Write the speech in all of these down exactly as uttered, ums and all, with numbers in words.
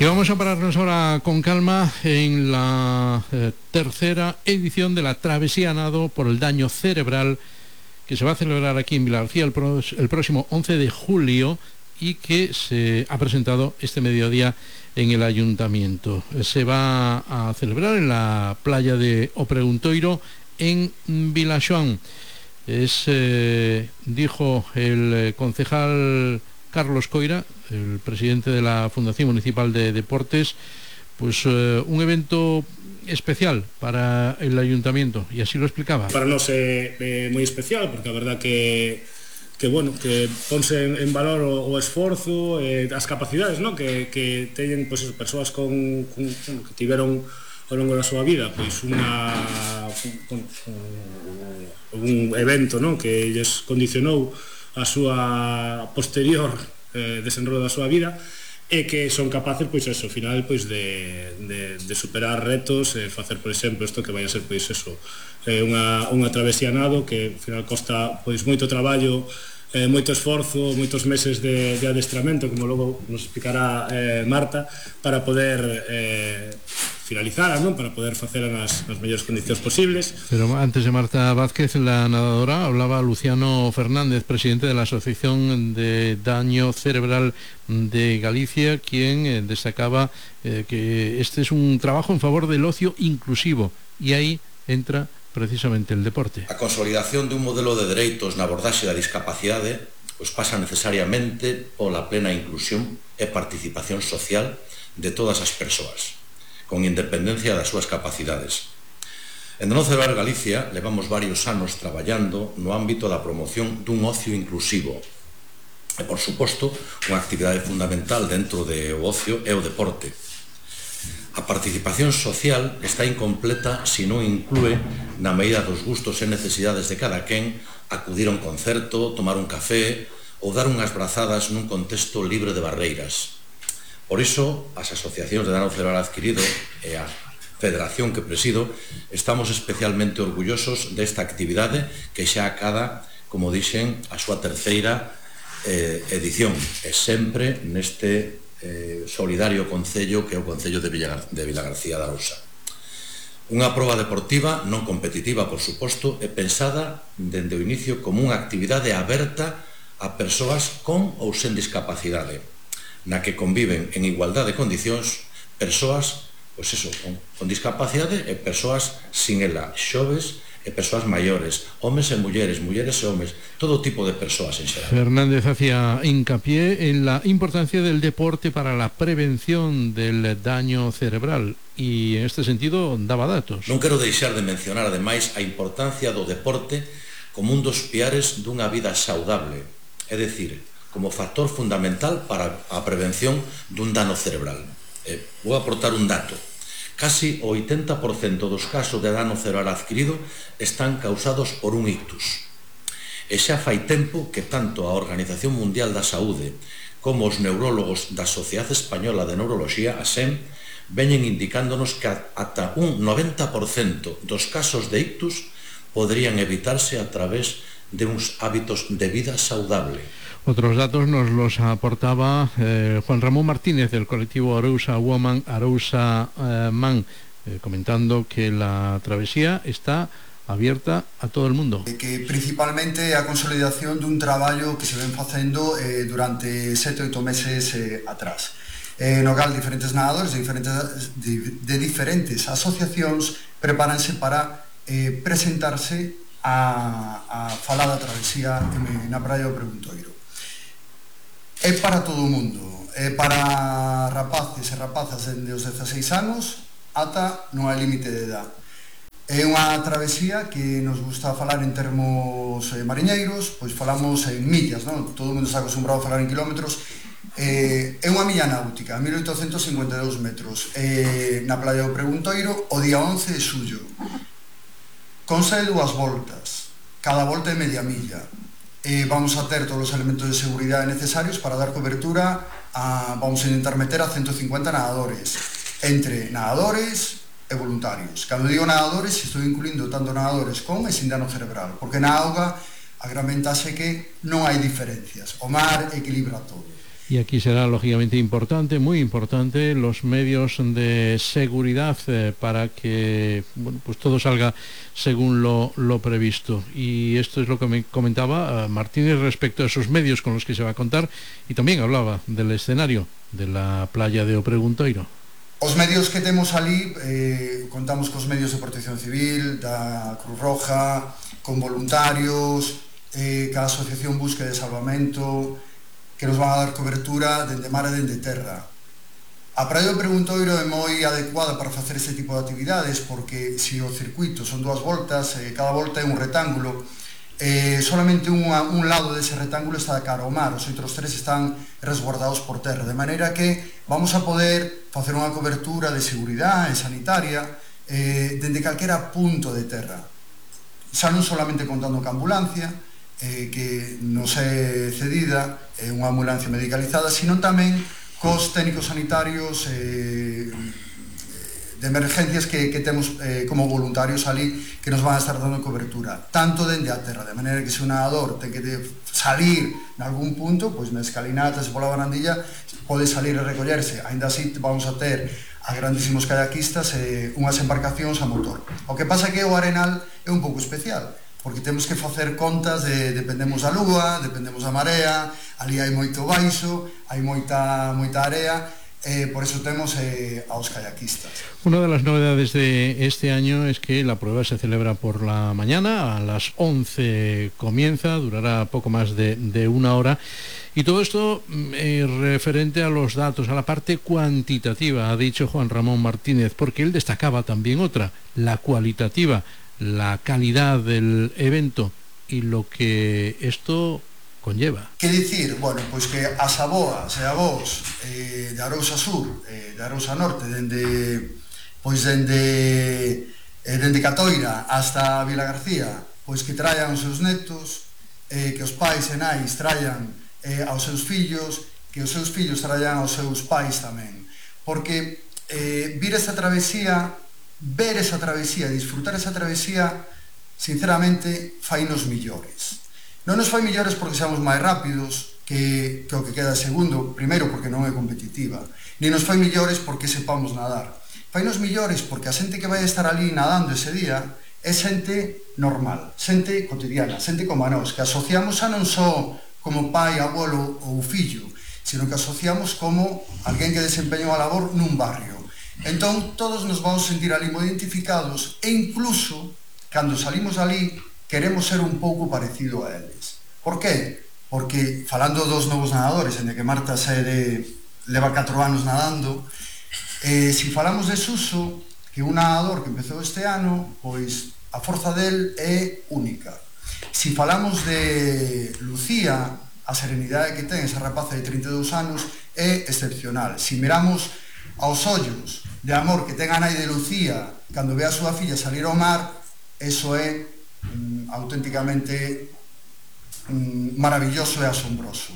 Y vamos a pararnos ahora con calma en la eh, tercera edición de la Travesía a Nado por el daño cerebral, que se va a celebrar aquí en Vilagarcía el, pro, el próximo once de julio y que se ha presentado este mediodía en el ayuntamiento. Se va a celebrar en la playa de O Preguntoiro en Vilaxoán. Es, eh, dijo el concejal Carlos Coira, el presidente de la Fundación Municipal de Deportes, pues eh, un evento especial para el ayuntamiento, y así lo explicaba. Para nós é, é moi especial, porque a verdad que que bueno, que ponse en, en valor o, o esforzo, eh, as capacidades, ¿no? que, que teñen pues, persoas con, con, bueno, que tiveron ao longo da súa vida pois unha un, un evento, ¿no? que lles condicionou a súa posterior eh, desenrolo da súa vida, e que son capaces, pois eso, ao final, pois de, de, de superar retos, e facer, por exemplo, isto que vai a ser, pois eso, eh, unha, unha travesía a nado que, ao final, costa, pois, moito traballo, eh, moito esforzo, moitos meses de, de adestramento, como logo nos explicará eh, Marta, para poder eh, finalizar, ¿no? Para poder facer nas, nas mellores condicións posibles. Pero antes de Marta Vázquez, la nadadora, hablaba Luciano Fernández, presidente de la Asociación de Daño Cerebral de Galicia, quien eh, destacaba eh, que este es un trabajo en favor del ocio inclusivo, y ahí entra precisamente el deporte. A consolidación dun modelo de dereitos na abordaxe da discapacidade pois pasa necesariamente pola plena inclusión e participación social de todas as persoas, con independencia das súas capacidades. En Daño Cerebral Galicia levamos varios anos traballando no ámbito da promoción dun ocio inclusivo e, por suposto, unha actividade fundamental dentro do ocio é o deporte. A participación social está incompleta se non inclúe, na medida dos gustos e necesidades de cada quen, acudir a un concerto, tomar un café ou dar unhas brazadas nun contexto libre de barreiras. Por iso, as asociacións de Daño Cerebral Adquirido e a federación que presido estamos especialmente orgullosos desta actividade que xa acada, como dixen, a súa terceira eh, edición, e sempre neste eh, solidario concello que é o Concello de, Villagar de Vilagarcía de Arousa. Unha proba deportiva non competitiva, por suposto, é pensada dende o inicio como unha actividade aberta a persoas con ou sen discapacidade, na que conviven en igualdade de condicións persoas, pois eso, con, con discapacidade e persoas sin ela, xoves e persoas maiores, homes e mulleres, mulleres e homes, todo tipo de persoas en xeral. Fernández hacía hincapié en la importancia del deporte para la prevención del daño cerebral y en este sentido daba datos. Non quero deixar de mencionar ademais a importancia do deporte como un dos piares dunha vida saudable, é dicir, como factor fundamental para a prevención dun dano cerebral. Eh, vou aportar un dato. Casi o oitenta por cento dos casos de dano cerebral adquirido están causados por un ictus. E xa fai tempo que tanto a Organización Mundial da Saúde como os neurólogos da Sociedade Española de Neuroloxía, a S E M, veñen indicándonos que ata un noventa por cento dos casos de ictus podrían evitarse a través de uns hábitos de vida saudable. Otros datos nos los aportaba eh, Juan Ramón Martínez del colectivo Arousa Woman, Arousa eh, Man, eh, comentando que la travesía está abierta a todo el mundo. Que principalmente a consolidación dun traballo que se ven facendo eh, durante sete oito meses eh, atrás. Eh, no cal diferentes nadadores de diferentes, de, de diferentes asociacións prepáranse para eh, presentarse a, a falada travesía na praia do Preguntoiro. É para todo o mundo, é para rapaces e rapazas dende os dezaseis anos ata non hai límite de edad. É unha travesía que nos gusta falar en termos eh, mariñeiros, pois falamos en millas, non? Todo o mundo está acostumbrado a falar en kilómetros. Eh, é unha milla náutica, mil oitocentos cincuenta e dous metros, eh, na playa do Preguntoiro, o día once de xullo. Consta de dúas voltas, cada volta é media milla. Eh, vamos a ter todos os elementos de seguridade necesarios para dar cobertura a, vamos a intentar meter a ciento cincuenta nadadores, entre nadadores e voluntarios. Cando digo nadadores, estou incluindo tanto nadadores con e sin dano cerebral, porque na auga a gran ventaxe é que non hai diferencias, o mar equilibra todo. Y aquí será lógicamente importante, muy importante, los medios de seguridad eh, para que bueno, pues todo salga según lo, lo previsto. Y esto es lo que me comentaba uh, Martínez respecto a esos medios con los que se va a contar, y también hablaba del escenario de la playa de O Preguntoiro. Os medios que temos ali, eh, contamos cos medios de protección civil, da Cruz Roja, con voluntarios, eh, ca Asociación Búsqueda e Salvamento, que nos van a dar cobertura dende mar e dende terra. A praia do Preguntoiro é moi adecuada para facer este tipo de actividades, porque se o circuito son dúas voltas, eh, cada volta é un retángulo, eh, solamente unha, un lado dese retángulo está de cara ao mar, os outros tres están resguardados por terra, de maneira que vamos a poder facer unha cobertura de seguridade sanitaria eh, dende calquera punto de terra. Xa non solamente contando ca ambulancia, eh, que nos é cedida, é unha ambulancia medicalizada, sino tamén cos técnicos sanitarios eh, de emergencias que, que temos eh, como voluntarios ali, que nos van a estar dando cobertura, tanto dende a terra, de maneira que se un nadador ten que salir en algún punto, pois na escalinata, se pola barandilla, pode salir e recollerse. Ainda así vamos a ter a grandísimos kayakistas e eh, unhas embarcacións a motor. O que pasa é que o Arenal é un pouco especial, porque temos que facer contas de dependemos da lúa, dependemos da marea, ali hai moito baixo, hai moita moita area, eh, por eso temos eh, aos kayakistas. Una de las novedades de este año es que la prueba se celebra por la mañana, a las once comienza, durará poco más de, de una hora, y todo esto eh, referente a los datos, a la parte cuantitativa, ha dicho Juan Ramón Martínez, porque él destacaba también otra, la cualitativa, la calidad del evento y lo que esto conlleva. Que dicir, bueno, pois que as aboas e avós eh, de Arousa Sur, eh, de Arousa Norte, dende pois dende eh, dende Catoira hasta Vila García, pois que traian os seus netos, eh, que os pais e nais traian eh, aos seus fillos, que os seus fillos traian aos seus pais tamén, porque eh, vir esta travesía, ver esa travesía, disfrutar esa travesía, sinceramente, fainos millores. Non nos fai millores porque seamos máis rápidos que, que o que queda segundo, primeiro porque non é competitiva, ni nos fai millores porque sepamos nadar. Fainos millores porque a xente que vai estar ali nadando ese día é xente normal, xente cotidiana, xente como a nós, que asociamos a non só como pai, abuelo ou fillo, sino que asociamos como alguén que desempeña a labor nun barrio. Entón, todos nos vamos sentir ali moi identificados e incluso, cando salimos ali, queremos ser un pouco parecido a eles. Por qué? Porque, falando dos novos nadadores, en que Marta se de, leva catro anos nadando, eh, se falamos de Suso, que un nadador que empezou este ano, pois a forza del é única. Se falamos de Lucía, a serenidade que ten esa rapaza de trinta e dous anos é excepcional. Se miramos aos ollos de amor que ten a nai de Lucía cando ve a súa filla salir ao mar, eso é mm, auténticamente mm, maravilloso e asombroso.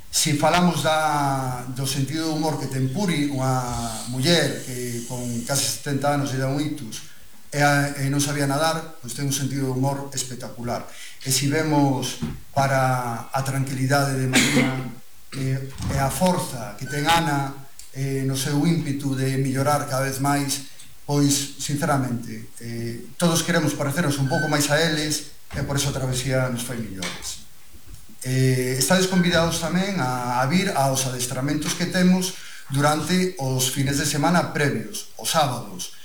Se falamos da, do sentido de humor que ten Puri, unha muller que con casi setenta anos e dá un ictus e, a, e non sabía nadar, pois ten un sentido de humor espectacular. E se vemos para a tranquilidade de Marina e, e a forza que ten Ana eh, no seu ímpetu de mellorar cada vez máis, pois, sinceramente, eh, todos queremos parecernos un pouco máis a eles e por eso a travesía nos fai millores. Eh, estades convidados tamén a, a vir aos adestramentos que temos durante os fines de semana previos, os sábados,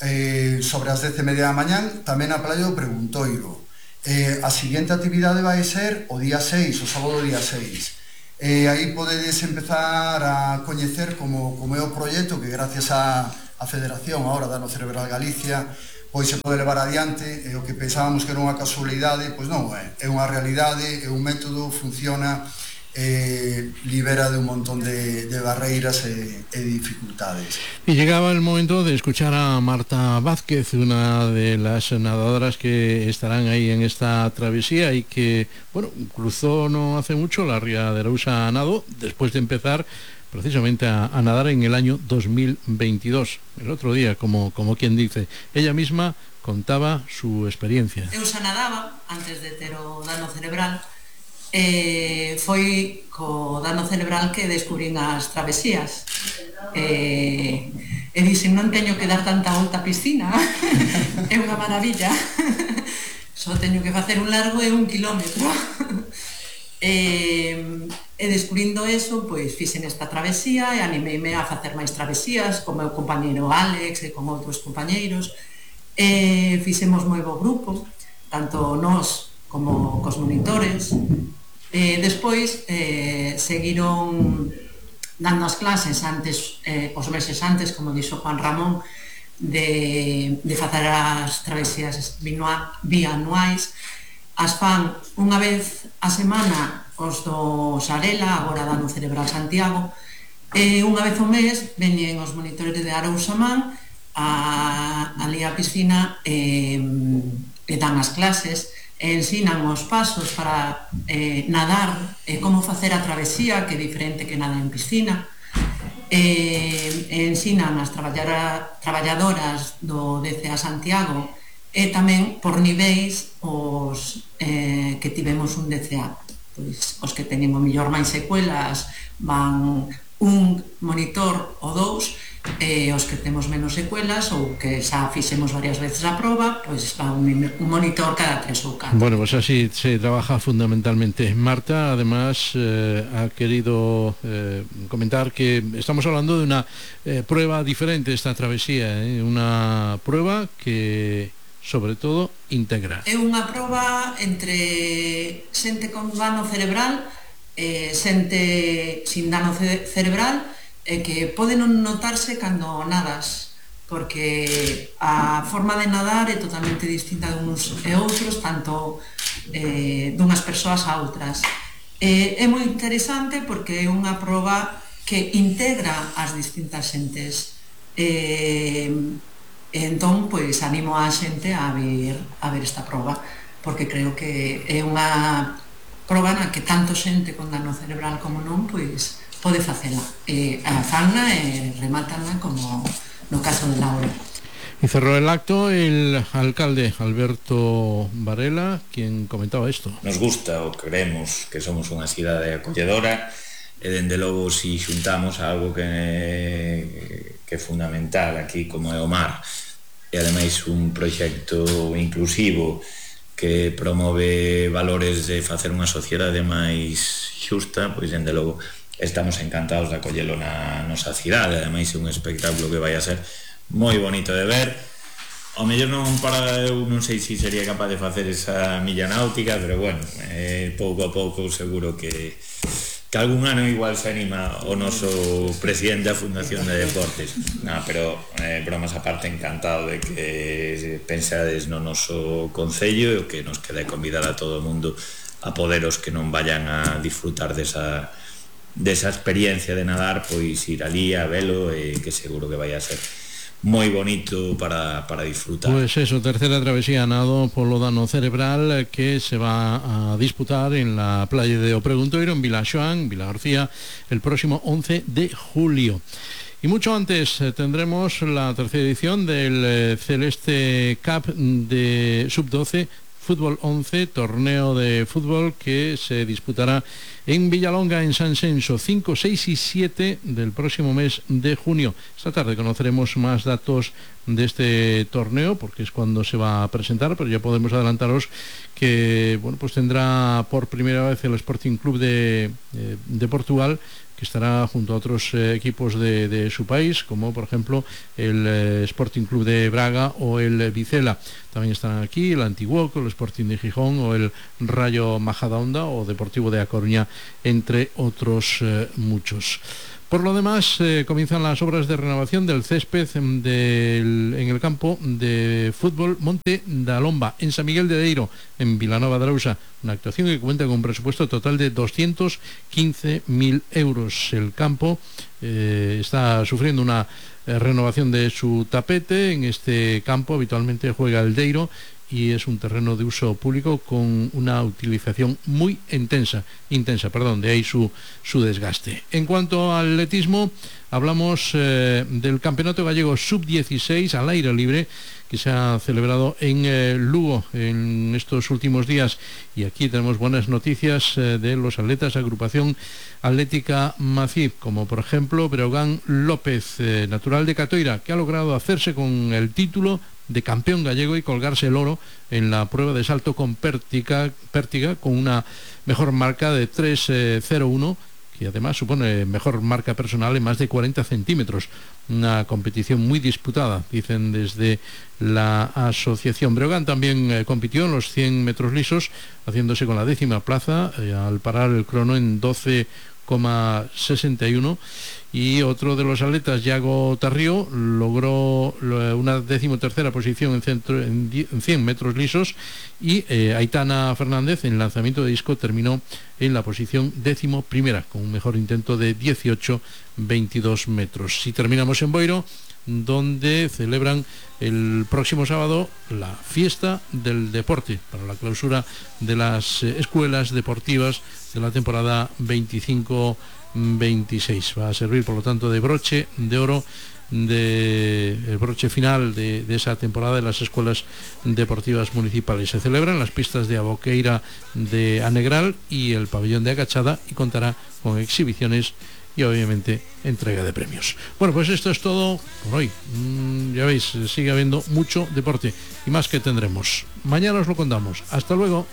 eh, sobre as dez e media da mañán, tamén a playa do Preguntoiro. Eh, a seguinte actividade vai ser o día seis, o sábado día seis. E aí podedes empezar a coñecer como, como é o proxecto que gracias a, a Federación ahora Dano Cerebral Galicia pois se pode levar adiante, e o que pensábamos que era unha casualidade, pois non é, é unha realidade, é un método, funciona, eh, libera de un montón de, de barreiras e, e dificultades. Y llegaba el momento de escuchar a Marta Vázquez, una de las nadadoras que estarán ahí en esta travesía y que, bueno, cruzó no hace mucho la ría de Arousa a nado, después de empezar precisamente a, a nadar en el año dos mil veintidós, el otro día, como, como quien dice. Ella misma contaba su experiencia. Eu xa nadaba antes de ter o dano cerebral eh, foi co dano cerebral que descubrín as travesías. Eh, e dixen, non teño que dar tanta volta a piscina, é unha maravilla, só teño que facer un largo e un kilómetro. E, e descubrindo eso, pois fixen esta travesía e animeime a facer máis travesías con meu compañeiro Alex e con outros compañeiros. E fixemos moi bo grupo, tanto nós como cos monitores. E despois eh, seguiron dando as clases antes, eh, os meses antes, como dixo Juan Ramón, de, de facer as travesías bianuais. As fan unha vez a semana os do Sarela, agora Dano Cerebral Santiago, e unha vez ao mes veñen os monitores de Arousa-Man a, ali a piscina e, e dan as clases e ensinan os pasos para eh, nadar e como facer a travesía, que é diferente que nadar en piscina, e, e ensinan as traballadoras do D C A Santiago e tamén por niveis os eh, que tivemos un D C A. Pois, os que teñen o mellor máis secuelas van un monitor ou dous, e os que temos menos secuelas ou que xa fixemos varias veces a proba, pois va un, un monitor cada tres ou catro. Bueno, pues así se trabaja fundamentalmente. Marta, además, eh, ha querido eh, comentar que estamos hablando de una eh, prueba diferente, esta travesía, eh, una prueba que, sobre todo, integra. É unha proba entre xente con dano cerebral e xente sin dano ce cerebral, e que pode non notarse cando nadas, porque a forma de nadar é totalmente distinta de uns e outros, tanto eh, dunhas persoas a outras. E é moi interesante porque é unha proba que integra as distintas xentes. E, e entón, pois, animo a xente a ver, a ver esta proba, porque creo que é unha proba na que tanto xente con dano cerebral como non, pois, pode facela, e a fanna e remátana como no caso de Laura. Y cerró el acto el alcalde Alberto Varela, quien comentaba esto. Nos gusta ou creemos que somos unha cidade acolledora e dende logo si xuntamos algo que, que é fundamental aquí como é o mar, e ademais un proxecto inclusivo que promove valores de facer unha sociedade máis xusta, pois dende logo estamos encantados de acollelo na nosa cidade. Ademais é un espectáculo que vai a ser moi bonito de ver. Ao mellor non para, eu non sei se sería capaz de facer esa milla náutica, pero bueno, eh, pouco a pouco seguro que que algún ano igual se anima o noso presidente da Fundación de Deportes. Nah, pero eh, bromas aparte, encantado de que pensades no noso concello e o que nos queda convidar a todo o mundo a poderos que non vayan a disfrutar desa desa experiencia de nadar, pois ir ali a velo, e que seguro que vai a ser moi bonito para, para disfrutar. Pues eso, tercera travesía nado polo dano cerebral que se va a disputar en la playa de O Preguntoiro, en Vilaxoán, Vila García, el próximo once de julio. Y mucho antes eh, tendremos la tercera edición del eh, Celeste Cup de sub doce Fútbol once, torneo de fútbol que se disputará en Villalonga, en San Senso, cinco, seis y siete del próximo mes de junio. Esta tarde conoceremos más datos de este torneo, porque es cuando se va a presentar, pero ya podemos adelantaros que bueno, pues tendrá por primera vez el Sporting Club de, eh, de Portugal, que estará junto a otros eh, equipos de, de su país, como por ejemplo el eh, Sporting Club de Braga o el eh, Vicela. También estarán aquí el Antiguoco, el Sporting de Gijón o el Rayo Majadahonda o Deportivo de A Coruña, entre otros eh, muchos. Por lo demás, eh, comienzan las obras de renovación del césped del, en el campo de fútbol Monte da Lomba, en San Miguel de Deiro, en Vilanova de Arousa. Una actuación que cuenta con un presupuesto total de doscientos quince mil euros. El campo eh, está sufriendo una eh, renovación de su tapete. En este campo habitualmente juega el Deiro, y es un terreno de uso público con una utilización muy intensa, intensa, perdón, de ahí su, su desgaste. En cuanto al atletismo, hablamos eh, del Campeonato Gallego sub dieciséis al aire libre, que se ha celebrado en eh, Lugo en estos últimos días. Y aquí tenemos buenas noticias eh, de los atletas, agrupación atlética Macib, como por ejemplo Breogán López, eh, natural de Catoira, que ha logrado hacerse con el título de campeón gallego y colgarse el oro en la prueba de salto con pértiga, pértiga con una mejor marca de tres cero uno, que además supone mejor marca personal en más de cuarenta centímetros. Una competición muy disputada, dicen desde la asociación. Breogán también eh, compitió en los cien metros lisos, haciéndose con la décima plaza eh, al parar el crono en doce coma sesenta y uno. Y otro de los atletas, Yago Tarrío, logró una decimotercera posición en, centro, en cien metros lisos, y eh, Aitana Fernández en lanzamiento de disco terminó en la posición décimo primera, con un mejor intento de dieciocho veintidós metros. Si terminamos en Boiro, donde celebran el próximo sábado la fiesta del deporte para la clausura de las eh, escuelas deportivas de la temporada veinticinco veintiséis. Va a servir, por lo tanto, de broche de oro, de el broche final de, de esa temporada de las escuelas deportivas municipales. Se celebran las pistas de Aboqueira de Anegral y el pabellón de Agachada, y contará con exhibiciones y obviamente entrega de premios. Bueno, pues esto es todo por hoy. Mm, ya veis, sigue habiendo mucho deporte y más que tendremos. Mañana os lo contamos. Hasta luego.